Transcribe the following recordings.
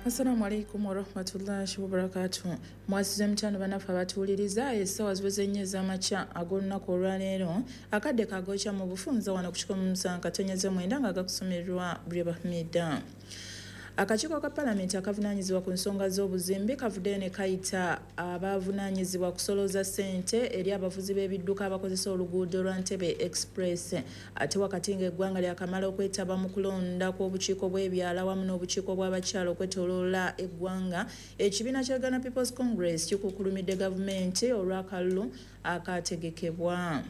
Assalamu alaikum warahmatullahi wabarakatuh. Mwasize mutano bannaffe abatuwuliriza, essaawa ziweze nnyo ez'amakya ag'olunaku olwaleero. Akadde kagokya mu bufunza wano ku 107.9 nga gakusomerwa Bribahmida. Akakiiko ka palamenti akavunaanyizibwa ku nsonga z'obuzimbi kavuddeyo ne kayita abavunaanyizibwa kusolooza ssente eri abavuzi b'ebidduka abakozesa oluguudo lwa Ntebe Express. Ate wakati ng'eggwanga lyakamala okwetaba mu kulonda kw'obukiiko bw'ebyalo awamu n'obukiiko bw'abakyala okwetooloola eggwanga, ekibiina kya Uganda People's Congress kikukkulumidde gavumenti olw'akalulu akaategekebwa.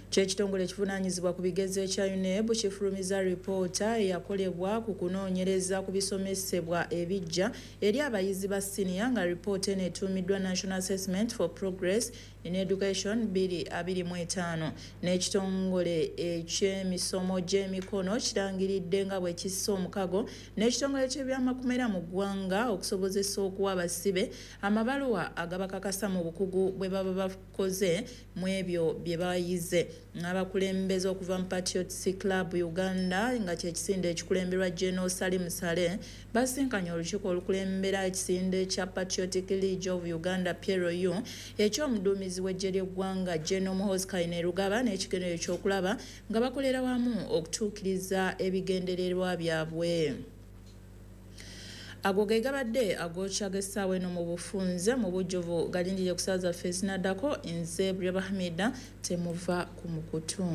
Ky'ekitongole ekivunaanyizibwa ku bigezo ekya UNEB kifulumiza ripoota eyakolebwa ku kunoonyereza ku bisomesebwa ebiggya eri abayizi ba siniya, nga ripoota eno etuumiddwa National Assessment for Progress in Education 2025. N'ekitongole eky'emisomo gy'emikono kirangiridde nga bwe kissa omukago n'ekitongole ky'ebyamakumera mu ggwanga okusobozesa okuwa abasibe amabaluwa agabakakasa mu bukugu bwe baba bakoze mu ebyo bye bayize. Abakulembeze okuva mu Patriots Club Uganda, nga kyekisinde ekikulemberwa General Salim Saleh, basinkanye olukiiko olukulembera ekisinde kya Patriotic League of Uganda PLU ekyomuduumizi w'eggye ly'eggwanga General Muhoozi Kainerugaba, n'ekigendererwa ekyokulaba nga bakolera wamu okutuukiriza ebigendererwa byabwe. Ago ge gabadde agokya g'essaawa eno mu bufunze. Mu bujjuvu galindire ku ssaawa zaffe ezinaddako. Nze Breba Hamida, temuva ku mukutu.